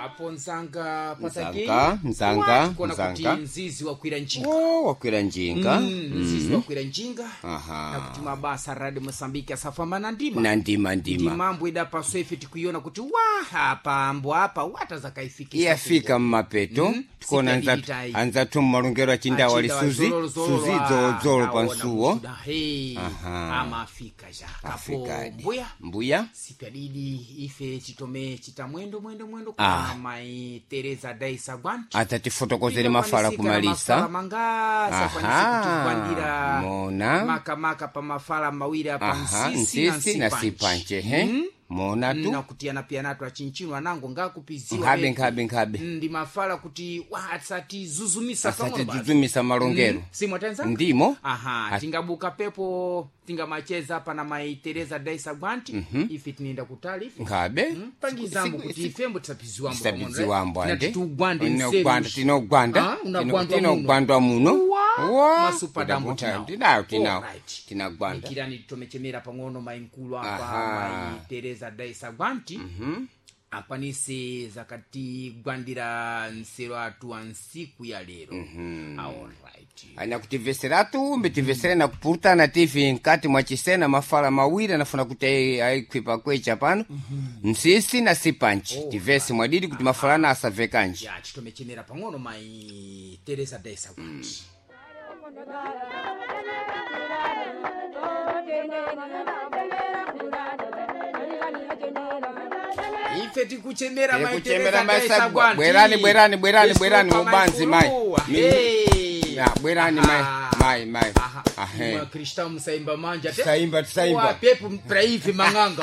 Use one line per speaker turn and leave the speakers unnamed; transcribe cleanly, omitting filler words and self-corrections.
Apo nzanga patake.
Nzanga, nzanga,
Kuona kuti
nzanga.
mzizi wakwira njinga.
Oh, wakwira njinga.
Mzizi wakwira njinga.
Aha.
Nakuti mabasa Radio Mosambiki asafamba na ndima.
Na ndima ndima.
Ndimambo idapaso ife tikuiona kuti wa apa ambo apa watazakaifikisa.
Iyafika mmapeto. Tikuona
Sipyadidi
anzathu
tayi.
anzathu mmalongero achindawa
Achinda
lisuzi
wazololo, zololo,
suzi
ah,
dzolozolo
aona
pansuwo.
kusuda. Hey,
Aha.
amafika ja kapo
Afikadi.
mbuya.
Mbuya.
Sipyadidi ife chitome chita mwendo mwendo mwendo
Ah.
kwa mai Teresa Daisa Gwanti.
Atatifotokozere mafala
Mafala
kumalisa.
mangasa
Aha,
kwanise kutigwandira
mona.
makamaka pa mafala mawiri apa
Aha,
nsisi na
nsisi na
nsipanche.
sipanche he. Mona tu.
Nakutiyana piyanatu achinchino anango ngakupiziwa
Nkhabe
betu.
nkhabe nkhabe.
Ndi mafala kuti wa asatizuzumisa pang'ono basi.
Asatizuzumisa malongero.
Simwatenza.
Ndimo.
Aha, tingabuka pepo tingamacheza pana mai Teresa Daisa Gwanti. Ife tinienda kutali ife.
Nkhabe.
Pangizambo kuti ifembo tisapiziwambo.
Tisapiziwambo ande.
Tugwande.
Tinogwanda tinogwanda.
Ah, unagwandwa
Tinogwandwa muno.
Wa,
Wa.
masupadambo tinawo.
Tinawo tinawo.
Alright.
Tinagwanda.
Ikirani titomechemera pang'ono mai mkulu apa
Aha.
mai Teresa Daisa Gwanti. Akwanise zakatigwandira nsero atu a nsiku ya lero. Alright.
Anyakutimveseratu mbitimvesere na kupurutana tv nkati mwa chisena mafala mawiri anafuna kuti aikhwipa kwecha pano. Nsisi na sipanchi tivese mwadidi kuti mafalana asavekanji.
Ya, chitomechemera pang'ono mai Teresa Daisa Gwanti. Ife tikuchemera mai
Tikuchemera
Teresa
mai
Daisa
Sagwa.
Gwanti.
Bwerani, bwerani, bwerani, bwerani,
Desculpa, mai
mubanzi, mai.
Mkulu. Hey.
Ya, bwerani mai
Aha.
mai mai.
Aha.
Ahe.
Mwa Kristau musaimba manja te.
Tisaimba, tisaimba.
Wa pepo praivi mang'anga.